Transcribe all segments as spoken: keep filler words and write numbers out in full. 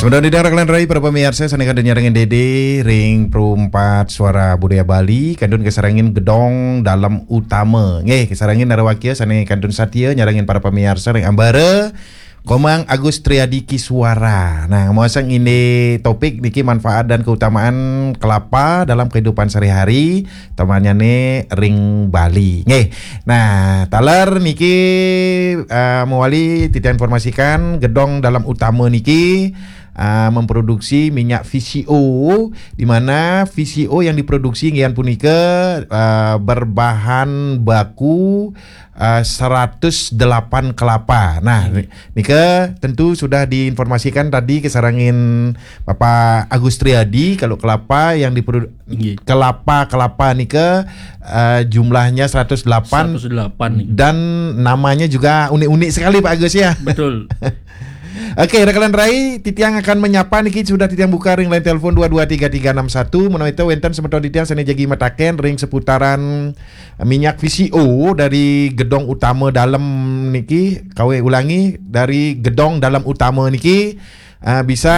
Kemudian di daerah Kalian Rai, para pemirsa, sane kantun nyarengin Dede ring Perumpat Suara Budaya Bali, kantun kasarengin Gedong Dalem Utama. Nggih, kasarengin nara wakia sane kantun satia nyarengin para pemirsa ring ambara Komang Agus Triadi Kiswara. Nah, muasang ini topik niki manfaat dan keutamaan kelapa dalam kehidupan sehari-hari, temannya ne ring Bali. Nggih. Nah, taler niki, eh, mewali titiang informasikan Gedong Dalem Utama niki, eh, memproduksi minyak V C O, di mana V C O yang diproduksi inggih punika, eh, berbahan baku, eh, seratus delapan kelapa. Nah, nika tentu sudah diinformasikan tadi kasarengin Bapak Agus Triadi, kalau kelapa yang diprodu-, kelapa-kelapa nika, eh, jumlahnya seratus delapan. Seratus delapan nih. Dan namanya juga unik-unik sekali, Pak Agus, ya. Betul. Oke, Rakalan Rai, titiang akan menyapa niki, sudah titiang buka ring line telepon dua dua tiga tiga enam satu, menawi wenten semeton titiang sane jagi mataken ring seputaran minyak V C O dari Gedong Utama Dalem niki, kaweh ulangi, dari Gedong Dalem Utama niki, ah, bisa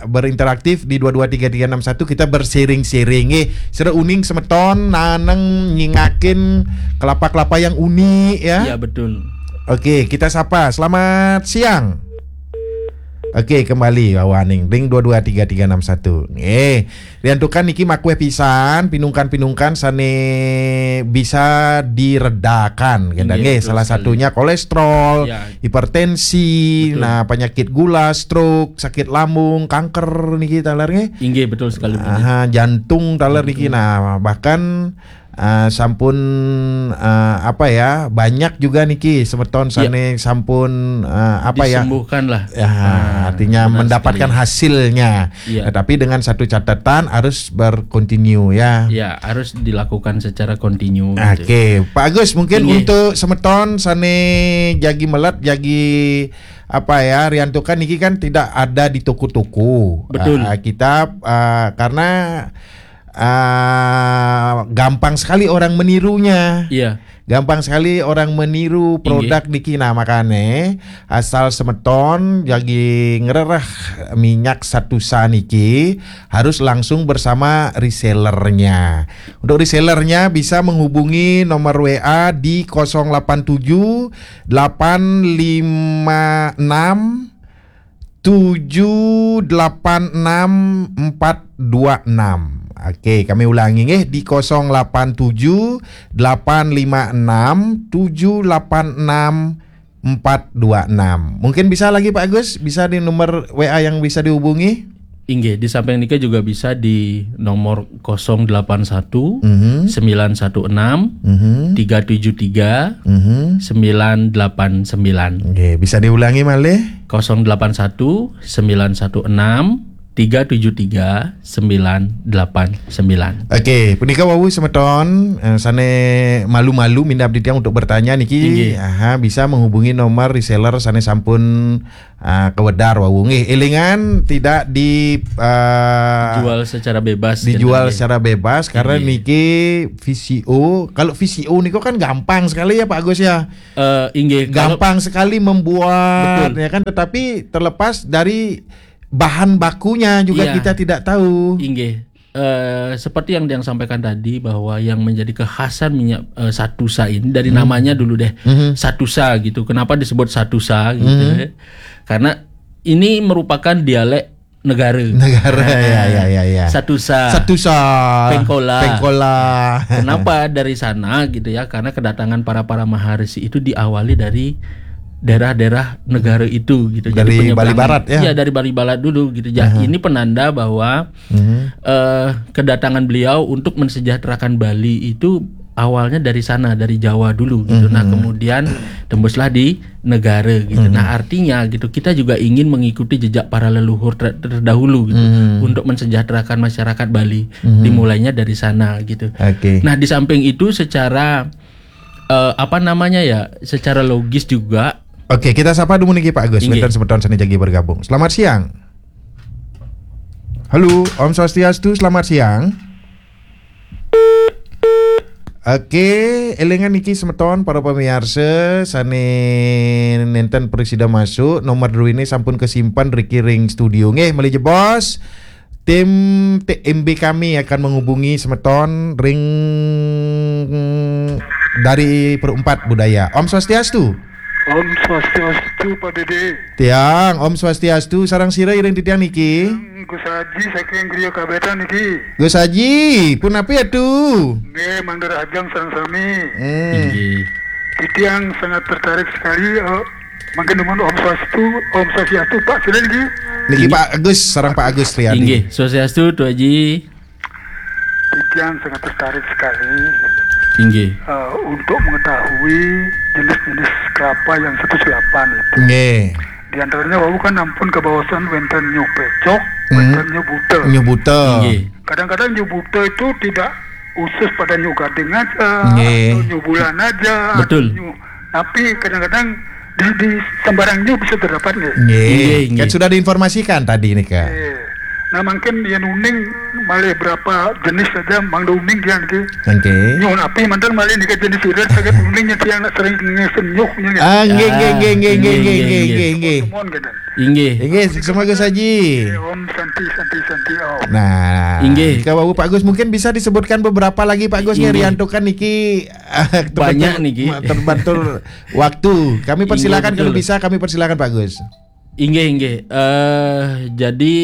berinteraktif di dua dua tiga tiga enam satu, kita bersharing-sharing. Eh, sira uning semeton naneng nyingakin kelapa-kelapa yang unik, ya. Ya, betul. Oke, kita sapa. Selamat siang. Oke, kembali, wawaning ring dua dua tiga tiga enam satu. Eh, riantukan niki makueh pisan, pinungkan-pinungkan sane bisa diredakan, nggih, nggih, betul salah sekali. Satunya kolesterol, ya, hipertensi, betul, nah, penyakit gula, stroke, sakit lambung, kanker niki taler nggih. Inggih, betul sekali, betul. Aha, jantung taler niki. Jantung. Nah, bahkan, eh, sampun, eh, apa ya, banyak juga niki semeton, ya, sane sampun, eh, apa ya, disembuhkan lah. Ya, ah, artinya benar mendapatkan sekali. Hasilnya. Iya. Tetapi dengan satu catatan, harus berkontinu, ya. Iya, harus dilakukan secara kontinu gitu. Oke, Pak Agus, mungkin, inggih, untuk semeton sane jagi melet, jagi apa ya, riantukan niki kan tidak ada di toko-toko. Betul. Ah, kita, ah, karena, ah, gampang sekali orang menirunya. Iya. Gampang sekali orang meniru, inggih, produk niki. Nah, makane asal semeton jagi ngrereh minyak Satusa niki, harus langsung bersama resellernya. Untuk resellernya bisa menghubungi nomor W A di kosong delapan tujuh delapan lima enam tujuh delapan enam empat dua enam. Oke, kami ulangi nggih, di kosong delapan tujuh delapan lima enam tujuh delapan enam empat dua enam. Mungkin bisa lagi, Pak Agus, bisa di nomor W A yang bisa dihubungi? Inggih, di samping nika juga bisa di nomor kosong delapan satu, mhm, sembilan satu enam, mhm, tiga tujuh tiga, mhm, sembilan delapan sembilan. Nggih, bisa diulangi malih? Kosong delapan satu, sembilan satu enam, tiga tujuh tiga, sembilan delapan sembilan. Oke, punika wau semeton, eh, sane malu-malu minab titiang untuk bertanya niki, inggih, aha, bisa menghubungi nomor reseller sane sampun, ah, kawedar wau. Nggih, elingan tidak di, eh, jual secara bebas, dijual secara bebas, karena, inggih, niki V C O. Kalau V C O niku kan gampang sekali ya, Pak Agus, ya. Eh, inggih, kalau gampang sekali membuat, betul, ya kan, tetapi terlepas dari bahan bakunya juga, iya, kita tidak tahu. Inggih. Eh, seperti yang Diang sampaikan tadi, bahwa yang menjadi kekhasan minyak, eh, Satusa ini dari, hmm, namanya dulu deh, mhm, Satusa gitu. Kenapa disebut Satusa gitu, mhm, ya? Karena ini merupakan dialek negara. Negara, nah, ya, ya, ya, ya. Satusa. Satusa. Pengkola. Pengkola. Kenapa dari sana gitu ya? Karena kedatangan para, para maharishi itu diawali dari daerah-daerah negara itu gitu. Jadi dari penyebrangan, Bali Barat, ya? Iya, dari Bali Barat dulu gitu. Ja-, aha, ini penanda bahwa, mhm, eh, kedatangan beliau untuk mensejahterakan Bali itu awalnya dari sana, dari Jawa dulu gitu. Nah, mhm, kemudian tembuslah di negara gitu. Mhm. Nah, artinya gitu, kita juga ingin mengikuti jejak para leluhur ter-, terdahulu gitu, mhm, untuk mensejahterakan masyarakat Bali. Mhm. Dimulainya dari sana gitu. Oke. Nah, di samping itu secara, eh, apa namanya ya, secara logis juga. Oke, kita sapa dulu niki, Pak Agus. Inggih. Wenten semeton sane jagi bergabung. Selamat siang. Halo, Om Swastiastu, selamat siang. Oke, elingan niki semeton para pamiarsa sane nenten prasida masuk, nomor duene sampun kasimpen riki ring studio. Nggih, malih jebos. Tim T M B kami akan menghubungi semeton ring dari Perempat Budaya. Om Swastiastu. Om Swastiastu, Pak Dede. Tiang, Om Swastiastu, sareng sira iring titiang niki? Gus Haji saking Griya Kabetan niki. Gus Haji, punapi atu? Nggih, mangda rahajeng sareng sami. Hmm. Inggih. Titiang sangat tertarik sekali, eh, mangkin nuwun Om Swastiastu, Om Swastiastu, Pak, sira niki. Niki Pak Agus, sareng Pak Agus Triadi. Inggih, Swastiastu, Tu Haji. Titiang sangat tertarik sekali, inggih, eh, untuk mengetahui jenis-jenis kelapa yang seratus delapan itu. Nggih. Di antaranya wau kan ampun kabaosan wenten nyuh pecok, hmm, wenten nyuh buta. Nyuh buta. Inggih. Kadang-kadang nyuh buta itu tidak khusus pada nyuh gading aja, nggih, atau nyuh bulan aja, betul, atau nyuh, tapi kadang-kadang di, di sembarang nyuh bisa terdapat nggih. Nggih, nggih, kan nggih, sudah diinformasikan tadi nika. Nggih. Nah, mangkin yen uning malih berapa jenis saja, mangda uning dia niki. Nggih. Nyuh napi manten malih nika jenis irit saget uning yen tiang nak sering ngesen nyuh nya nggih. Ah, nggih, nggih, nggih, nggih, nggih, nggih, nggih, nggih, nggih. Nuwun, gitu. Inggih. Inggih, semoga saji. Om Santi, Santi, Santi, Om. Nah, inggih, nika wau Pak Gus, mungkin bisa disebutkan beberapa lagi Pak Gus, inggih, ngeriantukan niki, banyak niki. Terbantu waktu. Kami, inggih, persilakan, betul, kalau bisa kami persilakan Pak Gus. Inggih, inggih. Eh, jadi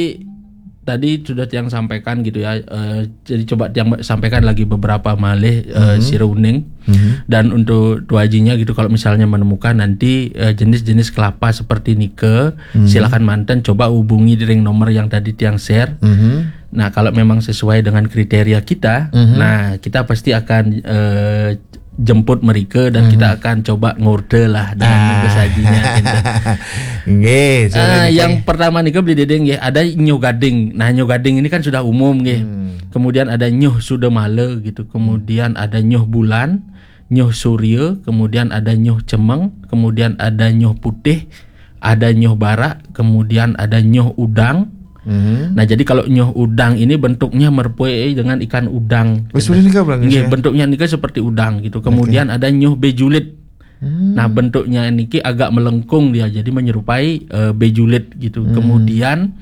tadi sudah tiang sampaikan gitu ya. Eh, jadi coba tiang sampaikan lagi beberapa malih, eh, mhm, sira uning. Mhm. Dan untuk Tu Hajinya gitu, kalau misalnya menemukan nanti, eh, jenis-jenis kelapa seperti nika, mhm, silakan manten coba hubungi di ring nomor yang tadi tiang share. Mhm. Nah, kalau memang sesuai dengan kriteria kita, mhm, nah, kita pasti akan, eh, jemput mereka dan, mhm, kita akan coba ngorder lah dengan, ah, mangga sajinya, gitu. Nggih, ah, yang pertama nika beli dedeng nggih, ada nyuh gading. Nah, nyuh gading ini kan sudah umum nggih. Hmm. Kemudian ada nyuh sudamala gitu. Kemudian ada nyuh bulan, nyuh surya, kemudian ada nyuh cemeng, kemudian ada nyuh putih, ada nyuh barak, kemudian ada nyuh udang. Mhm. Nah, jadi kalau nyuh udang ini bentuknya merupai dengan ikan udang. Oh, seperti ini, Kak, Bang, nggih, ya? Bentuknya ini kan seperti udang gitu. Oke. Kemudian ada nyuh bejulit. Hmm. Nah, bentuknya niki agak melengkung dia, jadi menyerupai, eh, bejulit gitu. Hmm. Kemudian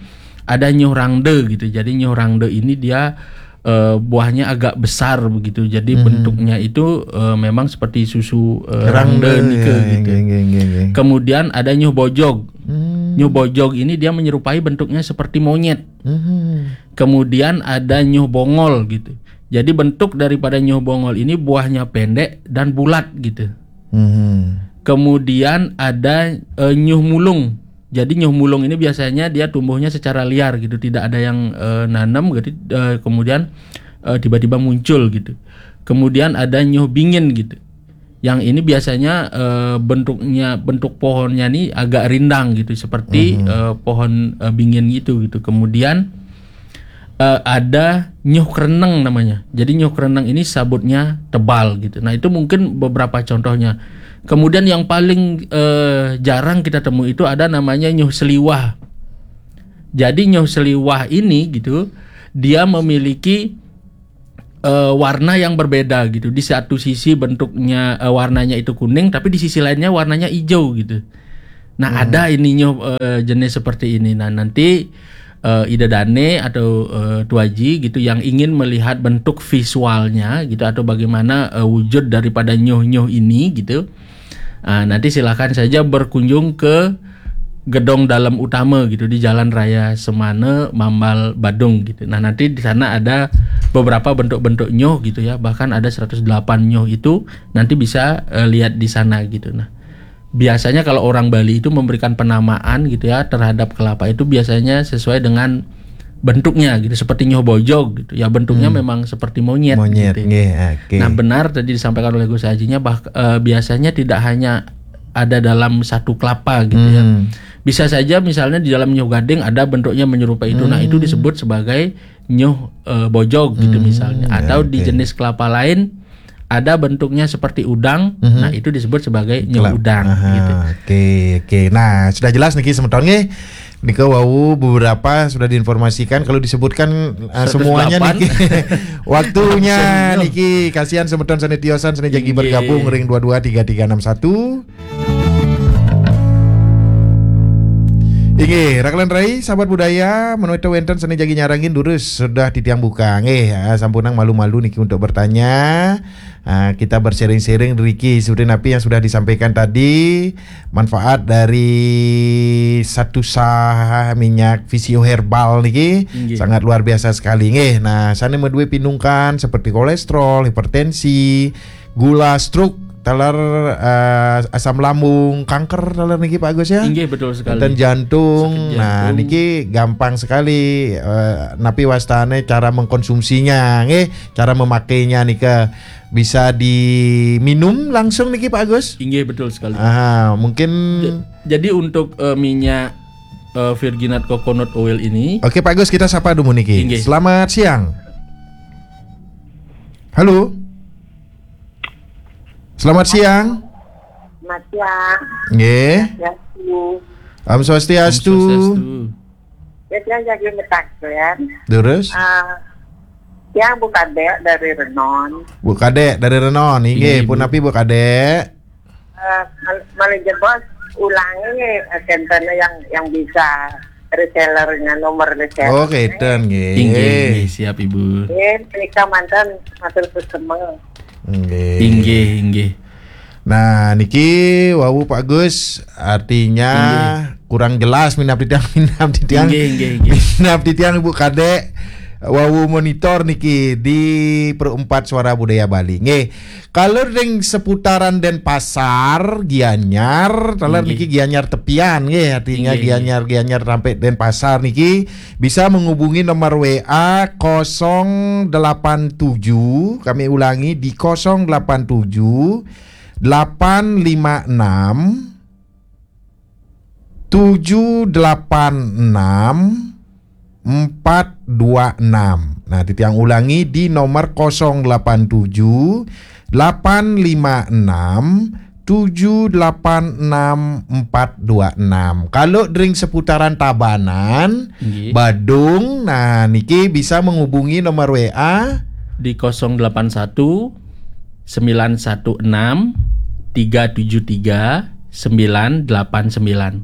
ada nyuh rangda gitu. Jadi nyuh rangda ini dia, eh, buahnya agak besar begitu. Jadi, mhm, bentuknya itu, eh, memang seperti susu, eh, rangda, rangda nika, ya, gitu. Nggih, nggih, nggih, nggih. Kemudian ada nyuh bojog. Hmm. Nyuh bojog ini dia menyerupai bentuknya seperti monyet. Hmm. Kemudian ada nyuh bongol gitu. Jadi bentuk daripada nyuh bongol ini buahnya pendek dan bulat gitu. Hmm. Kemudian ada, eh, nyuh mulung. Jadi nyuh mulung ini biasanya dia tumbuhnya secara liar gitu, tidak ada yang, eh, nanam gitu. Eh, kemudian, eh, tiba-tiba muncul gitu. Kemudian ada nyuh bingin gitu. Yang ini biasanya, eh, bentuknya, bentuk pohonnya nih agak rindang gitu, seperti, mhm, eh, pohon, eh, bingin gitu gitu. Kemudian, eh, ada nyuh kereneng namanya. Jadi nyuh kereneng ini sabutnya tebal gitu. Nah, itu mungkin beberapa contohnya. Kemudian yang paling, eh, jarang kita temui itu ada namanya nyuh seliwah. Jadi nyuh seliwah ini gitu, dia memiliki, eh, warna yang berbeda gitu. Di satu sisi bentuknya, eh, warnanya itu kuning, tapi di sisi lainnya warnanya hijau gitu. Nah, hmm, ada ini nyuh, eh, jenis seperti ini. Nah, nanti, eh, Ida Dane atau, eh, Tu Haji gitu yang ingin melihat bentuk visualnya gitu atau bagaimana, eh, wujud daripada nyuh-nyuh ini gitu. Ah, nanti silakan saja berkunjung ke gedung dalam utama gitu di Jalan Raya Semana, Mambal, Badung gitu. Nah, nanti di sana ada beberapa bentuk-bentuk nyuh gitu ya. Bahkan ada seratus delapan nyuh itu nanti bisa, eh, lihat di sana gitu. Nah, biasanya kalau orang Bali itu memberikan penamaan gitu ya terhadap kelapa itu biasanya sesuai dengan bentuknya gitu, seperti nyuh bojog gitu. Ya, bentuknya, hmm, memang seperti monyet, monyet gitu. Nggih, oke. Nah, benar tadi disampaikan oleh Gus Hajinya bah-, eh, biasanya tidak hanya ada dalam satu kelapa gitu ya. Hmm. Bisa saja misalnya di dalam nyuh gading ada bentuknya menyerupai itu. Nah, itu, hmm, disebut sebagai nyuh, eh, bojog gitu, hmm, misalnya. Atau di, oke, jenis kelapa lain ada bentuknya seperti udang, mhm, nah, itu disebut sebagai nyeuh udang, aha, gitu. Oke, oke. Nah, sudah jelas niki semeton nggih. Nika wau beberapa sudah diinformasikan, kalau disebutkan, eh, semuanya seratus delapan niki. Waktunya niki, kasihan semeton sane tiosan sane jagi, inggih, bergabung ring dua dua tiga tiga enam satu. Inggih, raka lan rai, sahabat budaya, menawi wenten sane jagi nyarengin durus sudah titiang buka. Nggih, ah, sampunang malu-malu niki untuk bertanya. Ah, kita bersharing-sharing riki seperti napi yang sudah disampaikan tadi, manfaat dari Satusa minyak Visio Herbal niki, inggih, sangat luar biasa sekali nggih. Nah, sane madue pinungkan seperti kolesterol, hipertensi, gula, stroke, taler, eh, asam lambung, kanker taler niki Pak Agus ya. Inggih, betul sekali. Wenten jantung. Sakit jantung. Nah, niki gampang sekali, eh, napi wastane cara mengkonsumsinya nggih, cara memakainya nika bisa diminum langsung niki Pak Agus. Inggih, betul sekali. Ah, mungkin ja-, jadi untuk, eh, minyak, eh, virginat coconut oil ini. Oke Pak Agus, kita sapa dulu niki. Inggih. Selamat siang. Halo. Selamat siang. Selamat siang. Nggih. Swastiastu. Om Swastiastu. Om Swastiastu. Ya, tiang jagi metaken. Terus? Ah, tiang Bu Kadek dari Renon. Bu Kadek dari Renon, inggih, inggih, pun Bu. Napi Bu Kadek? Eh, mal-, malih jebos ulangi, eh, kenten yang, yang bisa resellernya, nomor reseller. Oh, kenten nggih. Inggih, inggih, siap Ibu. Nggih, menika manten matur suksma. Nggih. Inggih, inggih. Nah, niki wau Pak Gus, artinya, inggih, kurang jelas minab titiang, minab titiang. Inggih, inggih, inggih. Minab titiang Ibu Kadek, wau monitor niki di Pro empat Suara Budaya Bali. Nggih. Kalau ring seputaran Denpasar, Gianyar, taler, inggih, niki Gianyar tepian nggih, artinya, inggih, inggih, Gianyar, Gianyar sampai Denpasar niki bisa menghubungi nomor W A kosong delapan tujuh, kami ulangi di kosong delapan tujuh, delapan lima enam, tujuh delapan enam, empat dua enam. Nah, titiang ulangi di nomor kosong delapan tujuh, delapan lima enam, tujuh delapan enam, empat dua enam. Kalau ring seputaran Tabanan, inggih, Badung, nah, niki bisa menghubungi nomor W A di kosong delapan satu, sembilan satu enam, tiga tujuh tiga, sembilan delapan sembilan.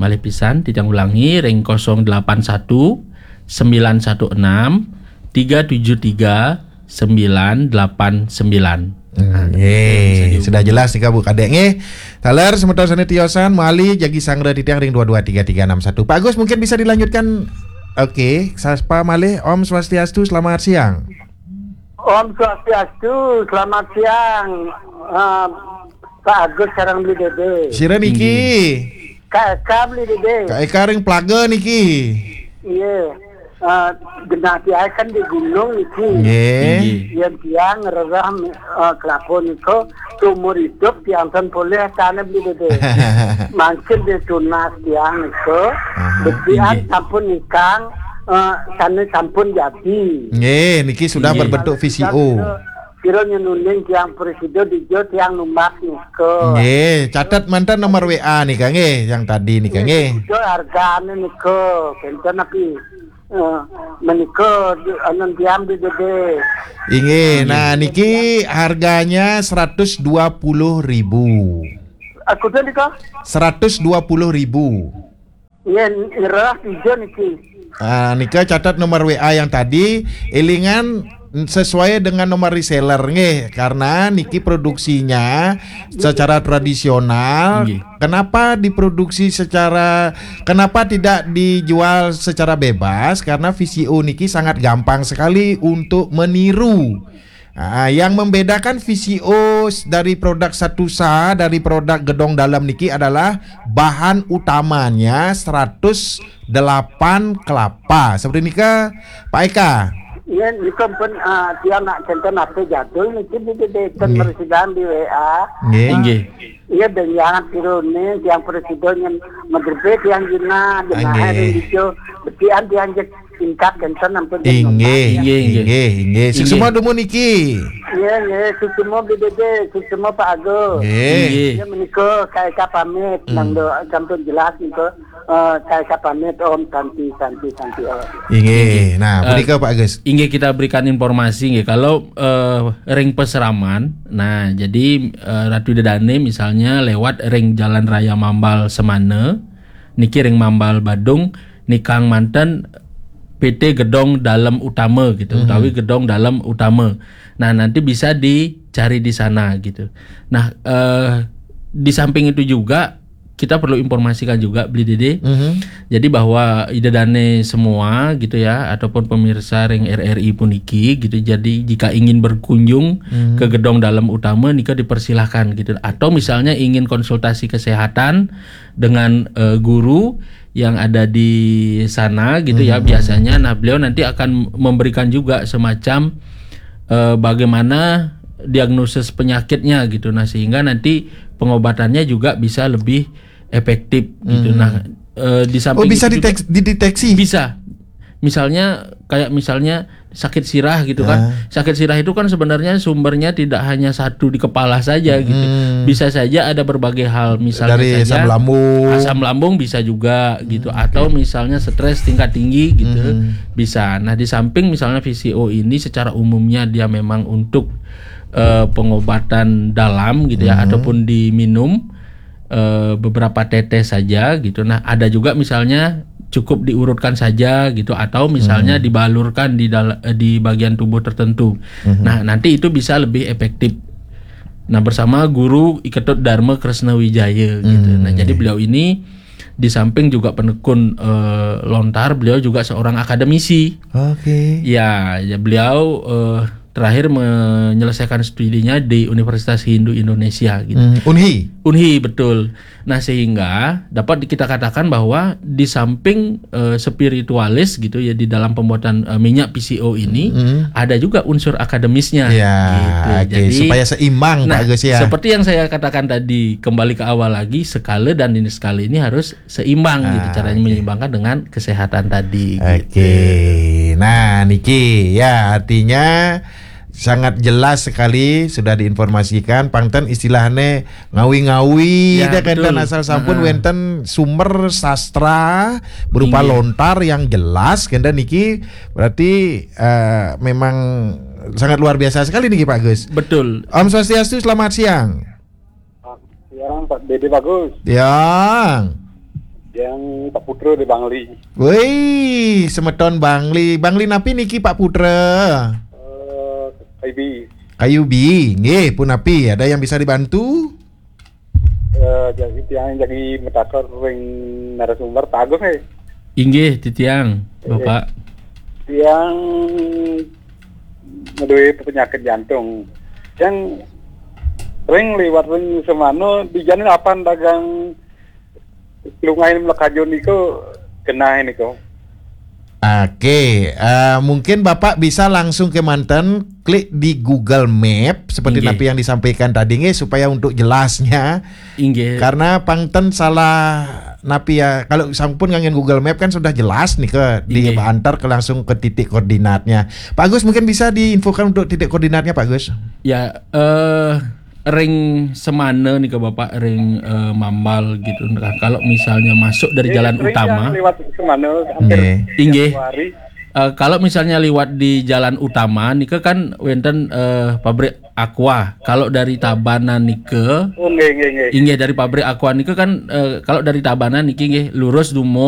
Malih pisan, titiang ulangi, ring kosong delapan satu, sembilan satu enam, tiga tujuh tiga, sembilan delapan sembilan. Hmm, nah, nggih, bisa dihubungi. Sudah jelas nika Bu Kadek nggih. Taler semeton sane tiosan, malih jagi sanggra titiang ring dua dua tiga tiga enam satu. Pak Agus, mungkin bisa dilanjutkan. Oke, sapa malih? Om Swastiastu, selamat siang. Om Swastiastu, selamat siang, eh, Pak Agus sareng Beli Dede. Sira niki? Inggih. Kak Eka, Beli Dede. Kak Eka ring Plaga niki. Iya. Eh, genah tiang kan di gunung niki. Nggih. Inggih. Yen tiang ngrereh, eh, kelapa nika, seumur hidup tiang ten polih tane Beli Dede. Mangkin dia tunas tiang nika. Aha, betian, inggih, sampun nikang, eh, sane sampun jadi. Nggih, niki sudah, inggih, berbentuk V C O. Kira nyenuning tiang presida dija tiang numbas nika. Nggih, catet manten nomor W A nika nggih, yang tadi nika nggih. Nggih, hargane nika, kenten napi? Eh, menika di, anu, tiang Beli Dede. Inggih, nah, niki harganya seratus dua puluh ribu. Aku tuh nika? Seratus dua puluh ribu. Nggih, ngrereh tiga niki. Ah, nika catat nomor W A yang tadi, elingan sesuai dengan nomor reseller nggih, karena niki produksinya secara tradisional. Nggih. Kenapa diproduksi secara, kenapa tidak dijual secara bebas? Karena V C O niki sangat gampang sekali untuk meniru. Ah, yang membedakan V C O s-, dari produk Satusa, dari produk Gedong Dalem niki adalah bahan utamanya seratus delapan kelapa. Seperti nika, Pak Eka. Iya, nika pun, ah, tiang nak kenten apa jadul niki di, di, di, nggih, persidangan di W A. Nggih. Inggih. Iya, dan jangan tiru nih, tiang presiden yang madrebe tiang jina, jina, nggih, hari hijau, betian tiang jek tingkat kenten ampun. Inggih, inggih, inggih, inggih. Inggih. Sing semua dumun niki. Nggih, nggih, suksma Bli Dede, suksma Pak Agus. Nggih. Nggih. Ya menika K K pamit, Hmm. nang do sampun jelas nika. Eh, K K pamit, Om Santi, Santi, Santi, Om. Inggih. Nah, Eh, punika Pak Agus. Inggih, kita berikan informasi nggih. Kalau eh, ring Pasraman, nah jadi eh, Ratu Ida Dane misalnya lewat ring Jalan Raya Mambal Semana, niki ring Mambal Badung, nikang manten P T Gedong Dalem Utama gitu, Mhm. utawi Gedong Dalem Utama. Nah, nanti bisa dicari di sana gitu. Nah, eh, di samping itu juga kita perlu informasikan juga, Bli Dede. Mhm. Jadi bahwa Ida Dane semua gitu ya, ataupun pemirsa ring R R I puniki gitu. Jadi jika ingin berkunjung Mhm. ke Gedong Dalem Utama nika dipersilahkan gitu. Atau misalnya ingin konsultasi kesehatan dengan eh, guru yang ada di sana gitu ya, Mhm. biasanya, nah, beliau nanti akan memberikan juga semacam eh, bagaimana diagnosis penyakitnya gitu. Nah, sehingga nanti pengobatannya juga bisa lebih efektif gitu. Mhm. Nah, eh, di Oh, samping bisa itu juga ditek- dideteksi? Bisa. Misalnya kayak misalnya sakit sirah gitu kan. Ah. Sakit sirah itu kan sebenarnya sumbernya tidak hanya satu di kepala saja gitu. Hmm. Bisa saja ada berbagai hal, misalnya Dari saja asam lambung. asam lambung bisa juga gitu, atau misalnya stres tingkat tinggi gitu, Mhm. bisa. Nah, di samping misalnya P C O ini secara umumnya dia memang untuk eh, pengobatan dalam gitu ya, Mhm. ataupun diminum eh, beberapa tetes saja gitu. Nah, ada juga misalnya cukup diurutkan saja gitu, atau misalnya Mhm. dibalurkan di dal- eh, di bagian tubuh tertentu. Mhm. Nah, nanti itu bisa lebih efektif. Nah, bersama Guru I Ketut Dharma Kresna Wijaya gitu. Nah, Hmm. jadi beliau ini di samping juga penekun eh, lontar, beliau juga seorang akademisi. Oke. Ya, ya, beliau eh, terakhir menyelesaikan studinya di Universitas Hindu Indonesia gitu. Hmm, Unhi. Unhi, betul. Nah, sehingga dapat kita katakan bahwa di samping eh, spiritualis gitu ya, di dalam pembuatan eh, minyak P C O ini, Hmm. ada juga unsur akademisnya. Ya, Gitu. oke, Jadi, supaya seimbang, nah, Pak Agus ya. Seperti yang saya katakan tadi, kembali ke awal lagi, skala dan jenis skala ini harus seimbang gitu. Ah, Caranya oke. menyeimbangkan dengan kesehatan tadi. Oke. Gitu. Nah, niki ya, artinya sangat jelas sekali sudah diinformasikan. Pangten istilahnya ngawi-ngawi, Ya, dah kenten betul. asal sampun Heeh. wenten sumber sastra berupa Inggih. Lontar yang jelas, kenten niki berarti eh, memang sangat luar biasa sekali niki, Pak Gus. Betul. Om Swastiastu, selamat siang. Siang, Pak Dede, bagus. Yang. Yang Pak Putra di Bangli. Wih, semeton Bangli. Bangli napi niki, Pak Putra? Eh, K I B. Kayubi, nggih, punapi, ada yang bisa dibantu? Eh, jadi tiang jadi metakar ring narasumber, bagus nih. Inggih, titiang, Bapak. Tiang ngeduwe penyakit jantung. Yang ring liwat ring semana, di jalan apa dagang lungain melekajun niku genah niku. Oke, eh, mungkin Bapak bisa langsung ke manten, klik di Google Map seperti Inggih. napi yang disampaikan tadi, nggih, supaya untuk jelasnya. Inggih. Karena pangten salah napi ya, kalau sampun ngangin Google Map kan sudah jelas nih ke Inggih. diantar ke langsung ke titik koordinatnya. Pak Agus, mungkin bisa diinfokan untuk titik koordinatnya, Pak Agus? Ya, eh ring semana nih ke Bapak, ring eh, Mambal gitu. Nah, kalau misalnya masuk dari jalan Ring utama, yang lewat semana hampir Nggih. Inggih. tiap hari. Eh, kalau misalnya liwat di jalan utama nih kan wenten eh, pabrik Aqua. Kalau dari Tabanan nih ke Oh, nggih, nggih, nggih. Inggih, dari pabrik Aqua nih kan eh, kalau dari Tabanan nih nggih lurus dumo